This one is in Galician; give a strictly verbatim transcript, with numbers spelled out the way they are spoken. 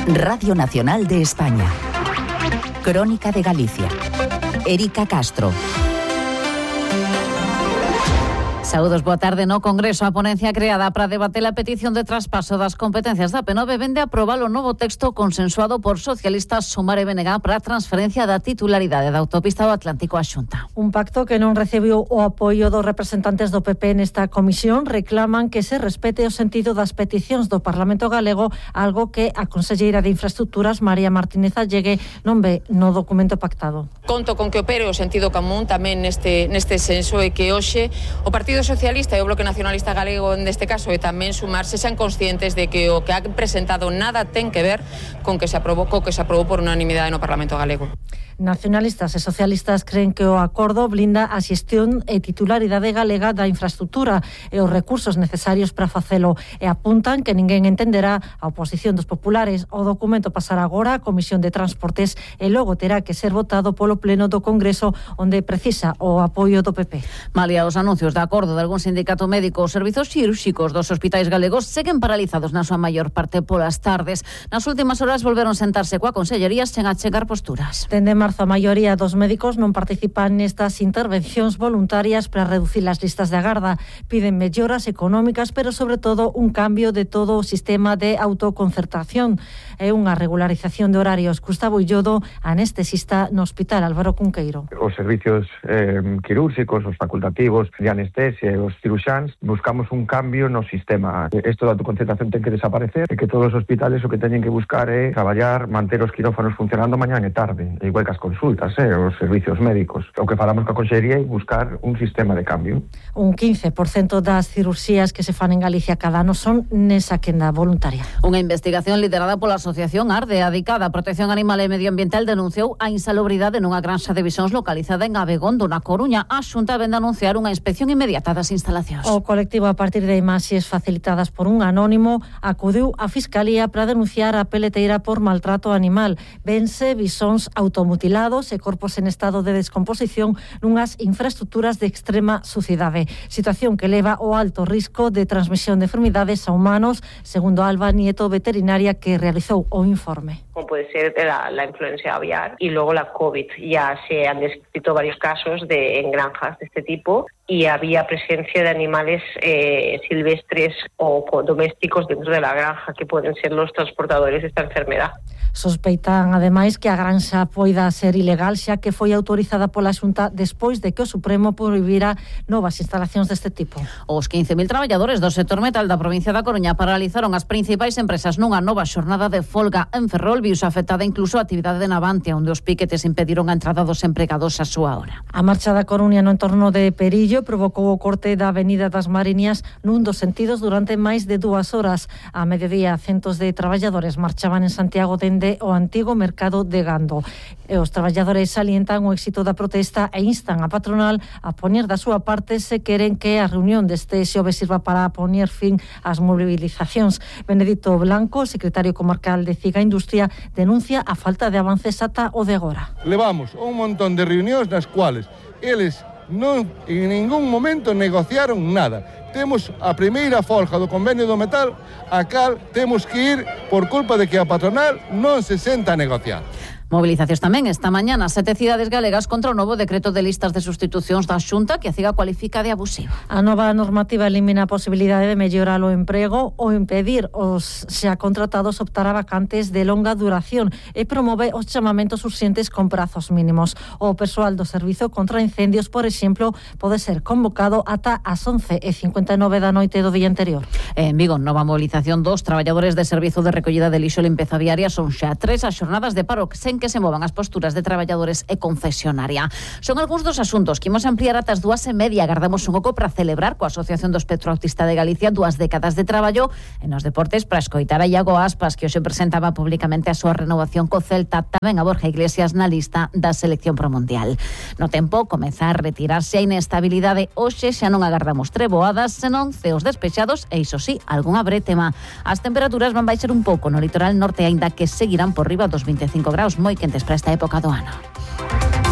Radio Nacional de España. Crónica de Galicia. Erika Castro. Saúdos, boa tarde. No Congreso, a ponencia creada para debater a petición de traspaso das competencias da P nove vende a aprobar o novo texto consensuado por socialistas, Sumar e B N G para a transferencia da titularidade da autopista do Atlántico á Xunta. Un pacto que non recibiu o apoio dos representantes do P P nesta comisión. Reclaman que se respete o sentido das peticións do Parlamento galego, algo que a conselleira de Infraestructuras, María Martínez Allegue, non ve no documento pactado. Conto con que opere o sentido común tamén neste, neste senso e que hoxe o Partido Socialista e o Bloque Nacionalista Galego neste caso e tamén Sumar se sean conscientes de que o que ha presentado nada ten que ver con que se aprobou, co que se aprobou por unanimidade no Parlamento galego. Nacionalistas e socialistas creen que o acordo blinda a xestión e titularidade galega da infraestructura e os recursos necesarios para facelo e apuntan que ninguén entenderá a oposición dos populares. O documento pasará agora á Comisión de Transportes e logo terá que ser votado polo Pleno do Congreso, onde precisa o apoio do P P. Malia, os anuncios de acordo de algún sindicato médico, os servizos cirúrxicos dos hospitais galegos seguen paralizados na súa maior parte polas tardes. Nas últimas horas volveron sentarse coa consellería sen achegar posturas. Dende marzo, a maioría dos médicos non participan nestas intervencións voluntarias para reducir as listas de agarda. Piden melloras económicas, pero sobre todo un cambio de todo o sistema de autoconcertación e unha regularización de horarios. Gustavo Illodo, anestesista no Hospital Álvaro Cunqueiro. Os servicios eh, quirúrxicos, os facultativos de anestesia e os ciruxáns buscamos un cambio no sistema. Isto da autoconcertación ten que desaparecer e que todos os hospitales o que teñen que buscar é traballar, manter os quirófanos funcionando mañá e tarde, igual que as consultas, eh, os servicios médicos. O que falamos coa consellería é buscar un sistema de cambio. Un quince por cento das cirurxías que se fan en Galicia cada ano son nesa quenda voluntaria. Unha investigación liderada pola Asociación Arde, adicada a Protección Animal e Medioambiental, denunciou a insalubridade nunha granxa de visóns localizada en Abegondo, na Coruña. A Xunta vende a anunciar unha inspección inmediata das instalacións. O colectivo, a partir de imaxes facilitadas por un anónimo, acudiu á Fiscalía para denunciar a peleteira por maltrato animal. Vense visóns automutilados e corpos en estado de descomposición nunhas infraestructuras de extrema sucidade. Situación que leva ao alto risco de transmisión de enfermidades a humanos, segundo Alba Nieto, veterinaria que realizou o informe. Como puede ser la, la influencia aviar y luego la COVID. Ya se han descrito varios casos de, en granjas de este tipo y había presencia de animales eh, silvestres o domésticos dentro de la granja que pueden ser los transportadores de esta enfermedad. Sospeitan, ademais, que a granxa poida ser ilegal xa que foi autorizada pola Xunta despois de que o Supremo prohibira novas instalacións deste tipo. Os quince mil traballadores do sector metal da provincia da Coruña paralizaron as principais empresas nunha nova xornada de folga. En Ferrol viuse afectada incluso a actividade de Navantia, onde os piquetes impediron a entrada dos empregados a súa hora. A marcha da Coruña no entorno de Perillo provocou o corte da Avenida das Mariñas nun dos sentidos durante máis de dúas horas. A mediodía, centos de traballadores marchaban en Santiago dende o antigo mercado de Gando. E os traballadores salientan o éxito da protesta e instan a patronal a poñer da súa parte se queren que a reunión deste xoves sirva para poñer fin ás mobilizacións. Benedito Blanco, secretario comarcal de Ciga Industria, denuncia a falta de avances ata o de agora. Levamos un montón de reunións nas cuales eles non en ningún momento negociaron nada. Temos a primeira folga do convenio do metal, a cal temos que ir por culpa de que a patronal non se senta a negociar. Movilizacións tamén esta mañá nas sete cidades galegas contra o novo decreto de listas de sustitucións da Xunta que a Ciga cualifica de abusivo. A nova normativa elimina a posibilidade de mellorar o emprego ou impedir os xa contratados optar a vacantes de longa duración e promove os chamamentos urxentes con prazos mínimos. O persoal do servizo contra incendios, por exemplo, pode ser convocado ata as once e cincuenta e nove da noite do día anterior. En Vigo, nova movilización dos traballadores de servizo de recollida de lixo e limpeza viaria. Son xa tres as xornadas de paro sen que se movan as posturas de traballadores e concesionaria. Son algúns dos asuntos que imos ampliar ata as dúas e media. Agardamos un oco para celebrar coa Asociación do Espectro Autista de Galicia dúas décadas de traballo en os deportes para escoitar a Iago Aspas, que hoxe presentaba públicamente a súa renovación co Celta, tamén a Borja Iglesias na lista da selección pro Mundial. No tempo, comeza a retirarse a inestabilidade. Hoxe xa non agardamos treboadas, senón ceos despexados e, iso sí, algunha bretema. As temperaturas van baixar un pouco no litoral norte, aínda que seguirán por riba dos vinte e cinco graus, moi quentes para esta época do ano.